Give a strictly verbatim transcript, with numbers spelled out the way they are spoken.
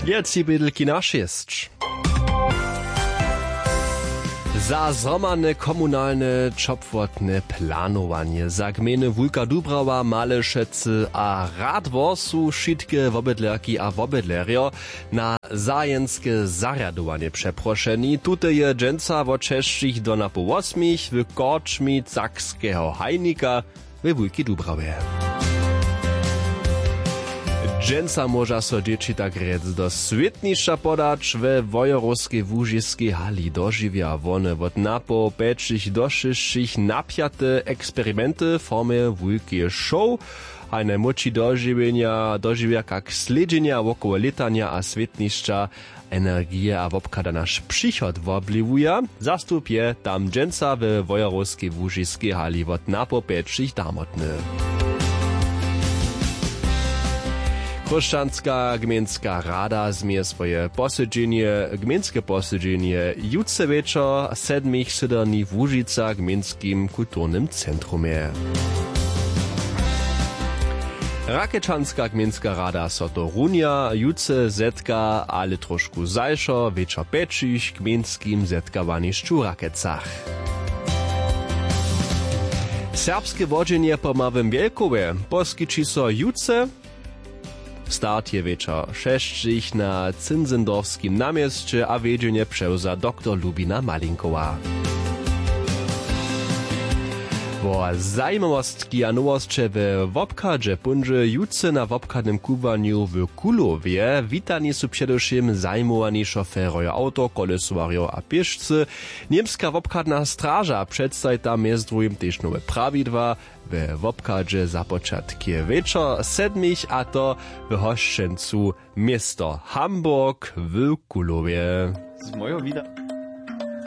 Lěci bědelki na šěsć. Za zhromadne komunalne čopłotne planowanje za gmejny wulka dubrawa malešecy a radwor su wšitke wobydlerki a wobydlerjo na zajenske zarjadowanje přeprošeni. Tute je dźensa wot šesćich do napoł wosmich w korčmi sakskeho hajnika we wulki dubrawje. Dźensa móža so dźěći tak rjec do swětnišća podać. We wojerowskej łužiskej hali dožiwja wone wot napoł pjećich do šěsćich napjate eksperimenty w formje wulkeje show. Haj najmłódši dožiwjenja dožiwja kak slědźenja wokoło lětanja a swětnišća energije a wobchada naš přichod wobliwuja. Zastup je tam dźensa we wojerowskej łužiskej hali wot napoł pjećich damotny. Chróšćanska gmejnska rada změje swoje posedźenje gmejnske posedźenje jutře wječor sedmich syderni w łužica w gmejnskim kulturnym centrumje. Rakečanska gmejnska rada so to runja jutře zetka ale trošku zašo wječor pjećich w gmejnskim zetkawanišću w rakecach. Serbske wodźenje po małym wjelkowje poskići so jutře. Start je wječor šesćich na zinzendorskim namjesće a wjedźenje přewza doktor lubina malinkowa. Wo zajimawostki a nowosće we wobchadźe póńdźe jutře na wobchadnym kubłanju w kulowje witani su předewšěm zajimowanej šoferojo awto kolesowarjo a pěšcy. Němska wobchadna straža předstajita mjez druhim tež nowe prawidła we wobchadźe započatkje wječor sedmich a to w hosćencu město hamburg w kulowje. Z mojo wida.